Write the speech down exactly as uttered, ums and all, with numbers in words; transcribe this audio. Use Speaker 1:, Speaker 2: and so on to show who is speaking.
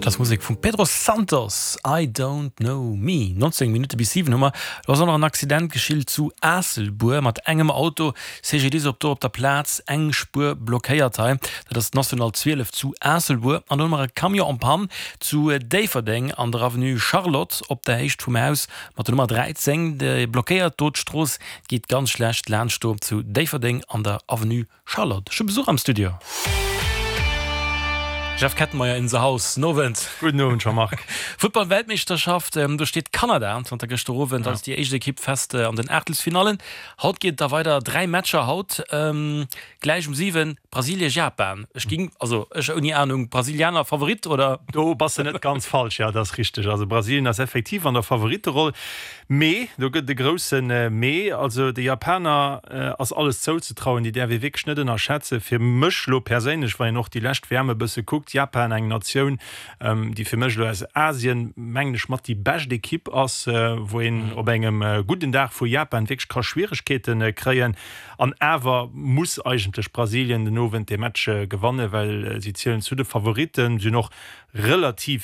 Speaker 1: Dat ass Musek vum Pedro Santos, I Don't Know Me. neunzéng Minutte bis siwen hu mer. Do ass och nach en Accident geschitt zu Aasselbuer mat engem Auto. C G D I S op do op der Plaz, eng Spuer blockéiert hei. Dat ass d'National zwielef zu Aasselbuer. An do hu mer e Camion en panne zu Déifferdeng an der Avenue Charlotte op der Héicht vum Haus mat der Nummer dräizéng. Dee blockéiert do d'Strooss, geet ganz schlecht laanscht do zu Déifferdeng an der Avenue Charlotte. Ech hu Besuch am Studio. Jeff Kettenmeyer in the house. Nowend.
Speaker 2: Gudden Owend, Jean-Marc.
Speaker 1: Futtball-Weltmeeschterschaft, do steet Kanada zanter gëschter Owend als déi éischt Ekipp fest an den Aachtelsfinallen. Haut geet et da weider, dräi Matcher haut, gläich um siwen, Brasilien, Japan. Ech ging, also ech ouni Anung, Brasilianer Favorit oder?
Speaker 2: Do bass de net ganz falsch, jo, dat ass richteg. Also Brasilien ass effektiv an der Favoritteroll, mee do gëtt et e grousse Mee. Also de Japaner ass alles zouzetrauen, déi däerf ee wierklech net ënnerschätzen. Fir mech elo perséinlech, wann een och déi lescht W M e bësse kuckt, Japan eng Natioun, déi fir mech elo aus Asien, mengen ech, mat déi bescht Ekipp ass, wou een op engem gudden Dag vu Japan wierklech ka Schwieregkeete kréien. An awer muss eigentlech Brasilien den Owend dee Match gewannen, well si zielen zu de Favoritten, sinn och relativ